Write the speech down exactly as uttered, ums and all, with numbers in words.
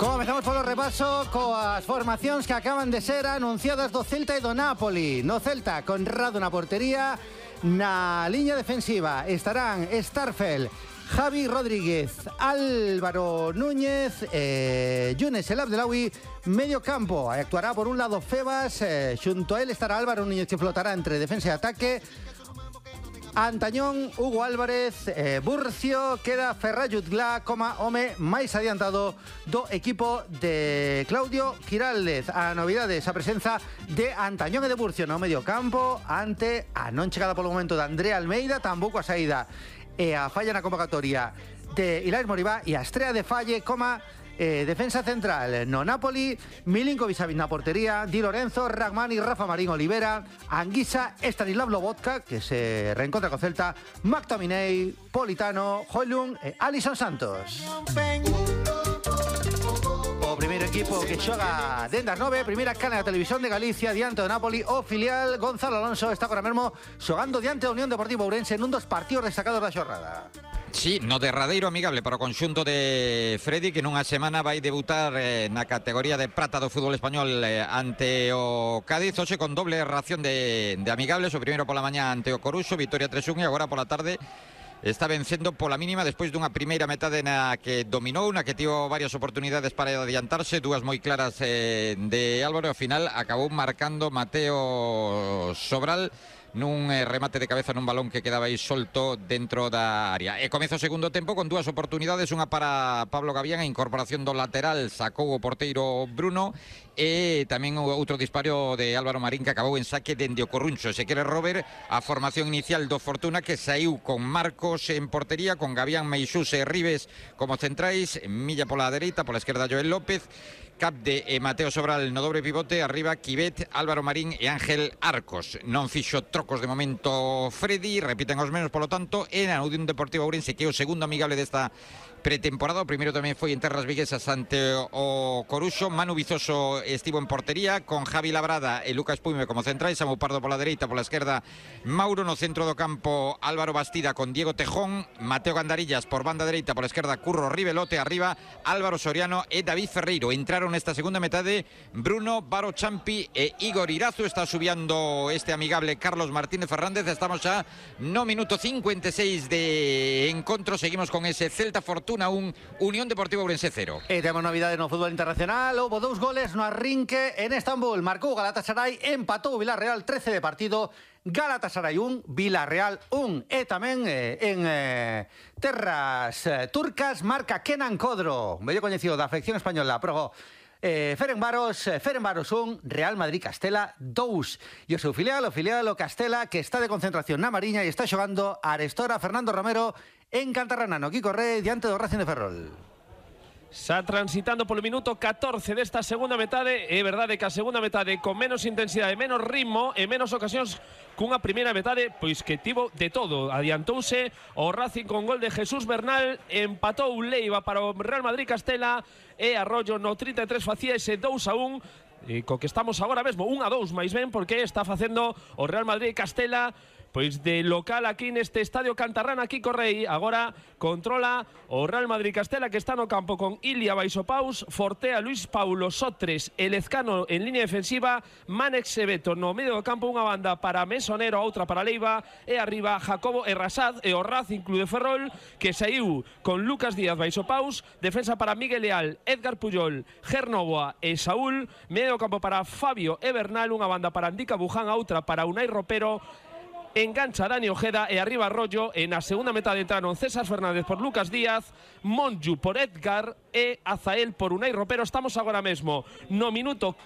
Comezamos polo repaso coas formacións que acaban de ser anunciadas do Celta e do Napoli. No Celta, Conrado na portería. Na liña defensiva estarán Starfel, Javi Rodríguez, Álvaro Núñez, eh, Younes El Abdelawi. Medio campo, actuará por un lado Febas, eh, xunto a él estará Álvaro Núñez, que flotará entre defensa e ataque. Antañón, Hugo Álvarez, eh, Burcio, queda Ferrayut Glá como home máis adiantado do equipo de Claudio Quirález. A novidade, esa presenza de Antañón e de Burcio no medio campo ante a non chegada polo momento de Andrea Almeida, tampouco a saída e a falla na convocatoria de Ilaix Moribá e a estrea de Falle como Eh, defensa central no Napoli, Milinkovic-Savic na portería, Di Lorenzo, Ragmani, Rafa Marín Olivera, Anguisa, Stanislav Lobotka, que se reencontra co Celta, McTominay, Politano, Højlund e Alisson Santos. O primeiro equipo que xoga dende as nove, primeira cana da Televisión de Galicia diante do Napoli, o filial Gonzalo Alonso está agora mesmo xogando diante da Unión Deportiva Ourense nun dos partidos destacados da xornada. Sí, no derradeiro amigable para o conxunto de Freddy, que nunha semana vai debutar eh, na categoría de prata do fútbol español eh, ante o Cádiz, hoxe con doble ración de, de amigables, o primeiro pola mañá ante o Coruxo, victoria tres un, e agora pola tarde está vencendo pola mínima despois dunha primeira metade na que dominou, na que tivo varias oportunidades para adiantarse, dúas moi claras eh, de Álvaro, e ao final acabou marcando Mateo Sobral nun eh, remate de cabeza nun balón que quedaba aí solto dentro da área. E comeza o segundo tempo con dúas oportunidades, unha para Pablo Gavián, a incorporación do lateral sacou o porteiro Bruno, e tamén outro disparo de Álvaro Marín que acabou en saque dende o Corruncho. Se quere Robert, a formación inicial do Fortuna, que saiu con Marcos en portería, con Gavián, Meixús e Ribes como centrais, Milla pola dereita, pola esquerda Joel López, Capde e Mateo Sobral no dobre pivote, arriba Quivet, Álvaro Marín e Ángel Arcos. Non fixo trocos de momento Freddy, repiten os menos, polo tanto, e na Unión Deportiva Ourense, que é o segundo amigable desta pretemporada. O primeiro tamén foi en terras viguesas ante o Coruxo. Manu Vizoso estivo en portería con Javi Labrada e Lucas Puime como centrais, Samu Pardo pola dereita, pola esquerda Mauro, no centro do campo Álvaro Bastida con Diego Tejón, Mateo Gandarillas por banda dereita, pola esquerda Curro Rivelote, arriba Álvaro Soriano e David Ferreiro. Entraron nesta segunda metade Bruno, Baro Champi e Igor Irazu. Está subiando este amigable Carlos Martínez Fernández. Estamos xa no minuto cincuenta e seis de encontro. Seguimos con ese Celta Fortuna un, Unión Deportiva Ourense cero. E temos novidade no fútbol internacional. Houbo dous goles no arrinque en Estambul. Marcou Galatasaray, empatou Villarreal, trece de partido. Galatasaray un, Villarreal un. E tamén eh, en eh, terras eh, turcas marca Kenan Kodro, bello coñecido da afección española, pro eh, Ferencváros, eh, Ferencváros un, Real Madrid Castela dous. E o seu filial, o filial o Castela, que está de concentración na Mariña e está xogando a Arestora Fernando Romero en Cantarrana, no Quico Rey, diante do Racing de Ferrol. Xa transitando polo minuto catorce desta segunda metade. É verdade que a segunda metade con menos intensidade, menos ritmo e menos ocasións cunha primeira metade pois que tivo de todo. Adiantouse o Racing con gol de Jesús Bernal, empatou Leiva para o Real Madrid Castela e Arroyo no trinta e tres facía ese dous a un, e co que estamos agora mesmo un a dous máis ben, porque está facendo o Real Madrid Castela pois de local aquí neste estadio Cantarrana, Quico Rey. Agora controla o Real Madrid Castela, que está no campo con Ilia Baixopaus, Fortea, Luis Paulo, Sotres e Lezcano en línea defensiva, Manex e Beto no medio do campo, unha banda para Mesonero, outra para Leiva, e arriba Jacobo e Rasad e o Racing Club de Ferrol, que saiu con Lucas Díaz Baixopaus, defensa para Miguel Leal, Edgar Puyol, Gernovoa e Saúl, medio do campo para Fabio e Bernal, unha banda para Andica Buján, outra para Unai Ropero, engancha Dani Ojeda e arriba Arroyo. En a segunda metade entraron César Fernández por Lucas Díaz, Monju por Edgar e Azael por Unai Ropero. Estamos agora mesmo no minuto